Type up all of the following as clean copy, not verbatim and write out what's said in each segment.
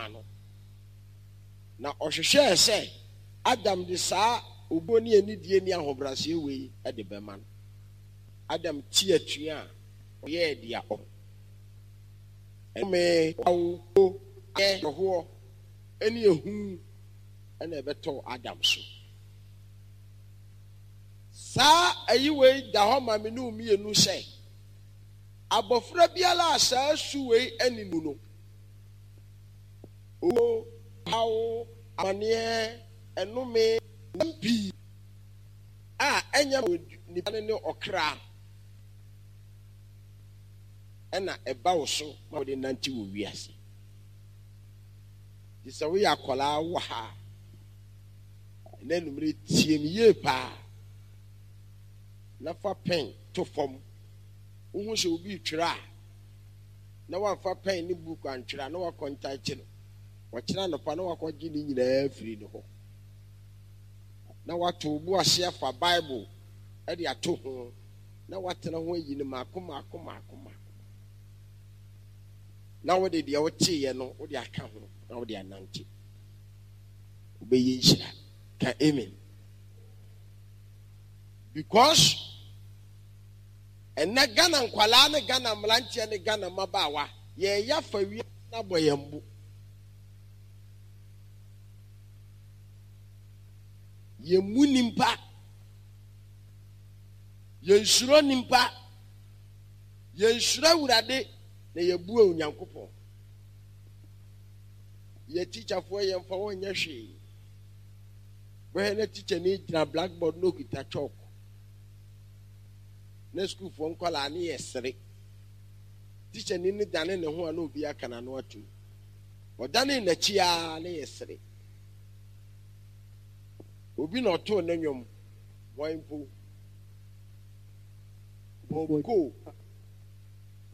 maa no. Na ɔhwehwɛɛ sɛ Adam de saa obuo ne anidie ne ahobrɛaseɛ wei de bɛma no. Adam ti atua a, ɔyɛɛ deɛ ɔpɛ. Ɛnome, ɔhaw, owuo, awerɛhoɔ, ne ehu na ɛbɛtɔɔ Adam so. Saa ayi wei da hɔ ma me ne wo mmienu sɛ, abɔfra biara a saa su wei nni ne mu no, owuo, ɔhaw, amaneɛ, ɛnome, nsɛm pii a ɛnyɛ ma nipa no ne ɔkra na ɛba wo so ma wode nante wɔ wiase. Nti sɛ woyɛ akwadaa wɔ ha a, ɛnɛ anwummere tie me yie paa na fa pɛn to fam. Wohu sɛ obi retwerɛ a, na wamfa pɛn ne buku antwerɛ a, na wakɔntakye no. Ɔkyena anɔpa na wakɔgye ne nyinaa afiri ne hɔ. Na wato wo bo ase afa Bible de ato ho na watena ho ayi no mmaako mmaako mmaako mmaako. Na wode deɛ woteeɛ no wode aka ho na wode anante. Wobɛyɛ nhyira. Ka amen. Because ɛnɛ Ghana nkwalaa ne Ghana mmeranteɛ ne Ghana mmabaawa yɛyɛ afa wiase no abɔ yɛn bo. Yɛmmu nimpa. Yɛnsuro nimpa. Yɛnsuro Awurade na yɛbu Onyankopɔn. Yɛ tikyafoɔ yɛmfa wɔn nyɛ hwee. Bɛhwɛ na tikyani gyina blackboard na okita chalk. Na sukuufoɔ nkwadaa ne yɛ sere. Tikyani no dane ne ho a na obi aka n'ano atum. Ɔdane n'akyi ara ne yɛ sere. Obi na ɔtoo ne nnwom, hwan mpo? Bob Cole.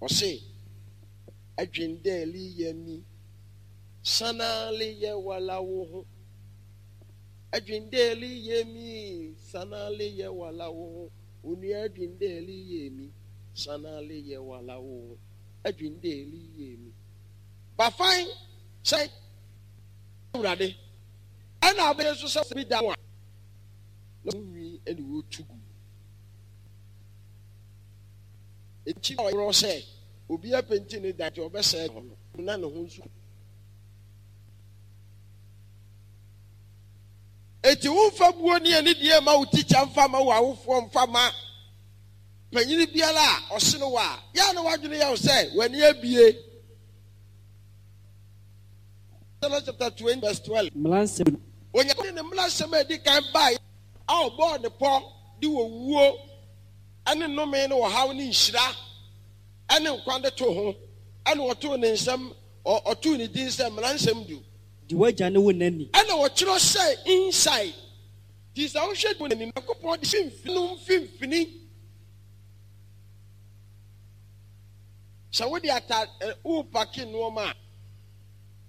Ɔse, Adwen dɛ leyɛ mi, sana leyɛ wala wo ho. Adwen dɛ leyɛ mi, sana leyɛ wala wo ho. Onua adwen dɛ leyɛ mi, sana leyɛ wala wo ho. Adwen dɛ leyɛ mi. Bafan sɛ Awurade. Ɛna abɛyɛ nso sɛ bi da ho a, na ho nwi ne wɔtu gu. Enti na ɔyerɛ sɛ obi apenti ne dan nti ɔbɛsɛe hɔ no, na ne ho nso. Enti womfa buo ne anidie mma wo tikya mfa mma wo awofoɔ mfa mma panyini biara a ɔsene wo a, yɛ a na w'adwene yɛ wo sɛ w'ani abue. Exodus chapter 20 verse 12. Mmaransɛm du. Onyankopɔn de ne mmaransɛm a edi kan bae a ɔbɔɔ ne pɔ de owuo ne nnome ne ɔhaw ne nhyira ne nkwa de too ho, ɛna ɔtoo ne nsɛm, ɔtoo ne din sɛ Mmaransɛm Du. Di w'agya ne wo na ni. Ɛna ɔtwerɛ sɛ inside. Nti sɛ wohwɛ du n'ani, Nyankopɔn de mfimfini no mfimfini. Sɛ wode ata worepake nneɛma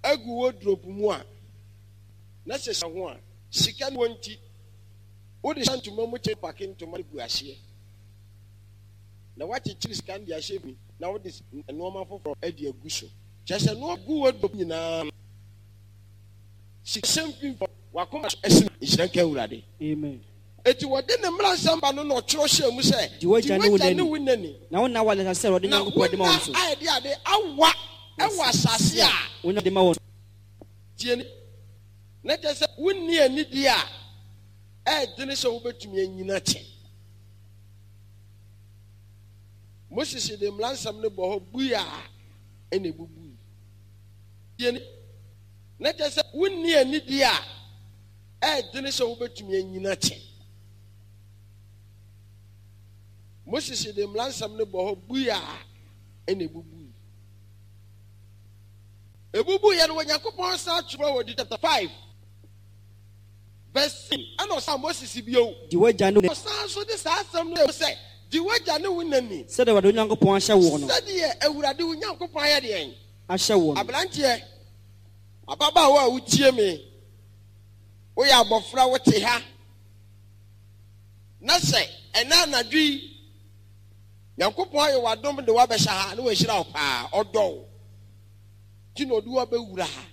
a agu wardrobe mu a, na sɛ ho a, sika no wɔ nti, wode hyɛ ntoma mu kyɛ pake ntoma no gu aseɛ, na woakyekyere sika no de ahyɛ mu na wode nneɛma foforɔ de agu so. Kyerɛ sɛ nneɛma gu wardrobe nyinaa no, sika hyɛ mfimfini, w'akoma so ɛsene. Nhyira nka Awurade. Amen. Enti wɔde ne mmaransɛm ba no na ɔtwerɛ hyɛɛ mu sɛ, Di w'agya ne wo Di w'agya ne na wo na ni, Na wo nna aware asase a Awurade na wo Nyankopɔn de ma nna wo no so. a ɛde ade awa wɔ asase a. Wo de ma wɔn. Tie ni, na kyerɛ sɛ wonni anidie a ɛyɛ dene sɛ wobɛtumi anyini akyɛ. Moses de mmaransɛm no bɔ hɔ bui a ɛna ɛbubui. Tie ni, na kyerɛ sɛ wonni anidie a ɛyɛ dene sɛ wobɛtumi anyini akyɛ. Moses de mmaransɛm no bɔ hɔ bui a ɛna ɛbubui. Ɛbubuiɛ no, Onyankopɔn san twerɛ wɔ Deuteronomy chapter 5 verse 6, ɛna ɔsan Moses bio. Di w'agya ne wo. Ɔsan nso de saa asɛm no sɛ, Di w'agya ne wo na ni. Sɛdeɛ Awurade wo Nyankopɔn ahyɛ woɔ no. Sɛdeɛ Awurade wo Nyankopɔn ayɛ deɛn? Ahyɛ woɔ no. Aberanteɛ, ababaawa a wotie me, woyɛ abɔfra wote ha, na sɛ ɛnɛ anadwo yi Nyankopɔn ayɛ w'adom de w'abɛhyɛ ha na wahyira wo paa, ɔdɔ wo nti na ɔde wo abɛwura ha.